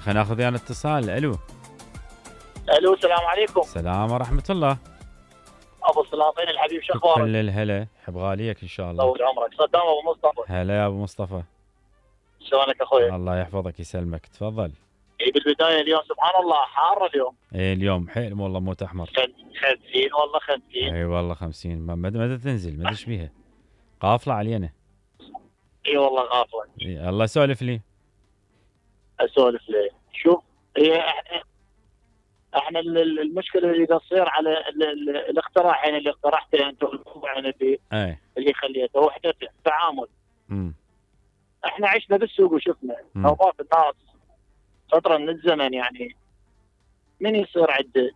خلينا ناخذ ويانا اتصال. الو السلام عليكم. السلام ورحمة الله. ابو السلاطين الحبيب، شو اخبارك؟ كل الهلا، حب غاليك ان شاء الله. طول عمرك. صدام ابو مصطفى. هلا يا ابو مصطفى، شلونك اخوي؟ الله يحفظك يسلمك، تفضل. بالبدايه اليوم سبحان الله حار اليوم. اليوم حيل والله موت احمر. 50 والله 50. اي والله 50. مدى تنزل، مدى ايش بيها؟ قافله علينا. اي والله غافله. الله سولف لي. اسولف ليه؟ شوف، هي احنا المشكله اللي تصير على الاقتراح اللي اقترحته انت، والموضوع اللي خليته وحده تعامل. احنا عشنا بالسوق وشفنا نوبات الناس فتره من الزمن، يعني من يصير عنده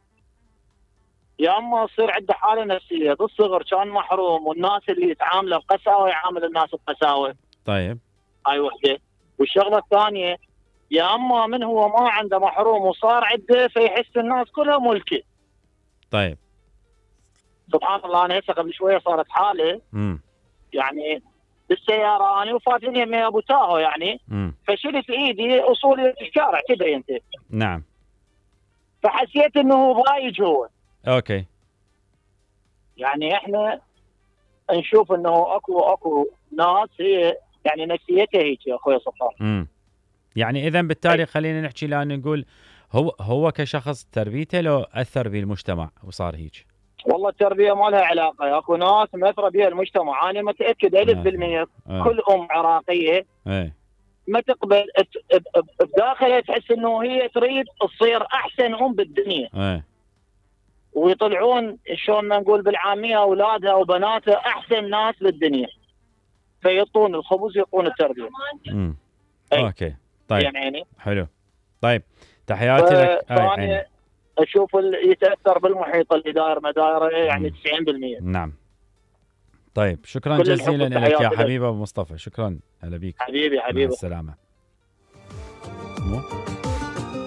يا اما يصير عنده حاله نفسيه بالصغر كان محروم، والناس اللي يتعامله بقساوه يعامل الناس بقساوه. طيب هاي وحده. والشغله الثانيه، يا اما من هو ما عنده محروم وصار عنده فيحس الناس كلها ملكه. طيب سبحان الله. انا هسه قبل شويه صارت حاله يعني بالسياره، انا وفاتني يمي ابو تاهو يعني فشلت ايدي اصولي في الشارع كذا انت. نعم. فحسيت انه هو ضايج هو. اوكي. يعني احنا نشوف انه اكو ناس هي يعني نفسيتها هيك يا اخوي صفار. يعني اذا بالتالي خلينا نحكي الان نقول هو كشخص تربيته لو اثر بالمجتمع وصار هيك. والله التربيه ما لها علاقه، اكو ناس مأثره بها المجتمع. انا متاكد 1000% كل عراقيه ما تقبل بداخلها تحس انه هي تريد تصير احسن بالدنيا. ويطلعون شلون ما نقول بالعاميه اولادها وبناتها احسن ناس بالدنيا، فيعطون الخبز يعطون التربيه. اوكي طيب يعني حلو. طيب تحياتي لك. انا اشوف يتاثر بالمحيط اللي داير مدايره يعني 90%. نعم. طيب شكرا جزيلا لك يا حبيبي ابو مصطفى، شكرا. هلا بيك حبيبي. مع السلامه.